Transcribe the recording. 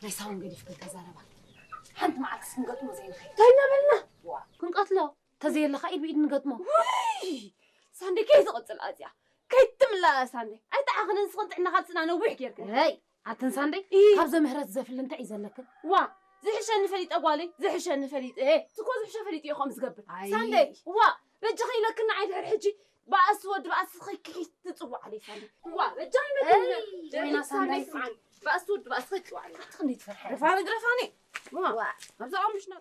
ናይ ሳውን ገዲፍክን ከዛረባ። ሓንቲ መዓልቲ ክንገጥሞ ዘይንኸይድ። እንታይ እናበልና? ዋ። ክንቀትሎ። ተዘየለኻ ኢድ ብኢድ ንገጥሞ። ውይ! ሳንዴ ከይትቕጽል ኣዚኣ። ከይትምላእ ሳንዴ። ኣይተዓኽንን ስኽን ጥዕና ካብ ጽና ነዊሕ ጌርክን። ሄይ! ኣትን ሳንዴ፣ ኢ። ካብ ዘምህረት ዘፍሊ እንታይ እዩ ዘለክን? ዋ! ዝሕሸኒ ፈሊጠ ጓለይ፣ ዝሕሸኒ ፈሊጠ። እ፣ እኮ ዝሕሸ ፈሊጠ እዩ ከምኡ ዝገብር። ኣይ። ሳንዴ፣ ዋ! በጃኺ ኢለክን ንዓይ ድሕሪ ሕጂ ባእሲ ወዲ ባእሲ ኸይክሒት ትጽዋዕ ኣለይ ሳንዴ። ዋ! በጃኺ ኢለክን። ኤይ! ወይና ሳንዴ ሳንዴ። ስምዓኒ። ባእሲ ወዲ ባእሲ ኸይትጽዋዕ ኣለይ። ኣቲ ክንደይ ትፈርሒ? ግረፋኒ፣ ግረፋኒ። ዋ! ዋ! ኣብዛ ቐምሽና